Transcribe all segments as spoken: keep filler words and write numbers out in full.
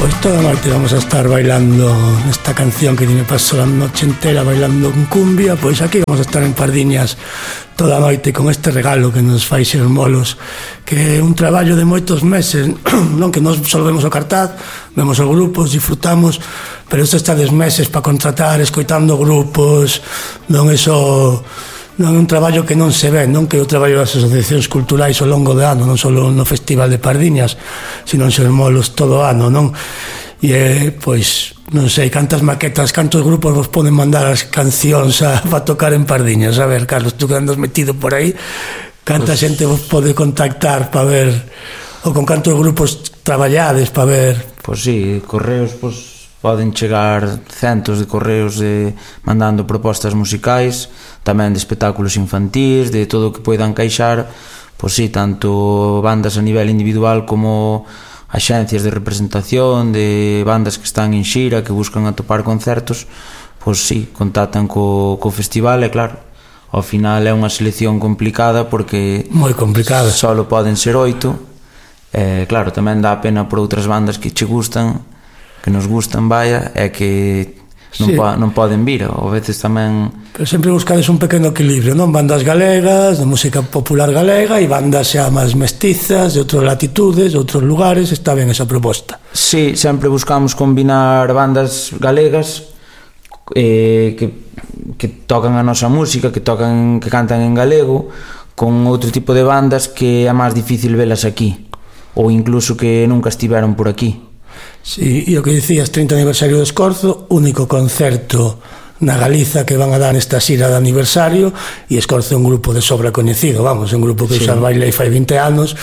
Pois toda a noite vamos a estar bailando esta canción que me pasou a noche entera bailando con cumbia. Pois aquí vamos a estar en Pardiñas toda a noite con este regalo que nos fai Ser Molos, que é un traballo de moitos meses, non que nos só vemos o cartaz, vemos os grupos, disfrutamos, pero isto está des meses para contratar, escoitando grupos, non é só... non é un traballo que non se ve, non que o traballo das asociacións culturais ao longo de ano, non só no Festival de Pardiñas, sino en Ser Molos todo o ano, non? E, pois, non sei, cantas maquetas, cantos grupos vos poden mandar as cancións a, para tocar en Pardiñas? A ver, Carlos, tú que andas metido por aí, canta pues... xente vos pode contactar para ver, ou con cantos grupos traballades para ver? Pois sí, correos, pois poden chegar centos de correos de, mandando propostas musicais, tamén de espectáculos infantís, de todo o que poida encaixar, pois sí, tanto bandas a nivel individual como axencias de representación, de bandas que están en xira, que buscan atopar concertos, pois sí, contactan co, co festival, e claro, ao final é unha selección complicada porque moi complicada, só poden ser oito, e claro, tamén dá pena por outras bandas que che gustan, que nos gustan, vaya, é que non, sí. po, non poden vir, ou veces tamén... Pero sempre buscades un pequeno equilibrio, non? Bandas galegas, de música popular galega, e bandas xa máis mestizas, de outras latitudes, de outros lugares, está ben esa proposta. Sí, sempre buscamos combinar bandas galegas eh, que, que tocan a nosa música, que tocan, que cantan en galego, con outro tipo de bandas que é máis difícil velas aquí, ou incluso que nunca estiveron por aquí. Sí, e o que dicías, trinta aniversario do Escorzo, único concerto na Galiza que van a dar nesta xira de aniversario, e Escorzo é un grupo de sobra coñecido, vamos, é un grupo que sí. Xa bailei fai vinte anos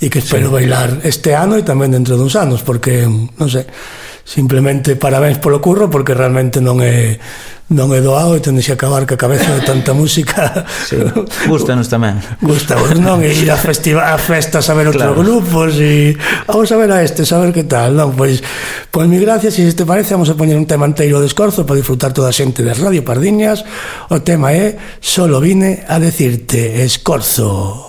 e que espero sí. bailar este ano e tamén dentro duns anos, porque, non sei, simplemente parabéns polo curro, porque realmente non é non é doado e tendes que acabar ca cabeza de tanta música. Sí, gustanos tamén. Gustamos, non? E ir a, festiva, a festas a ver outros claro. grupos e vamos a ver a este, saber que tal, non? Pois, pois mi gracias, e se te parece vamos a poñer un tema enteiro de Escorzo para disfrutar toda a xente de Radio Pardiñas. O tema é Solo vine a decirte, Escorzo.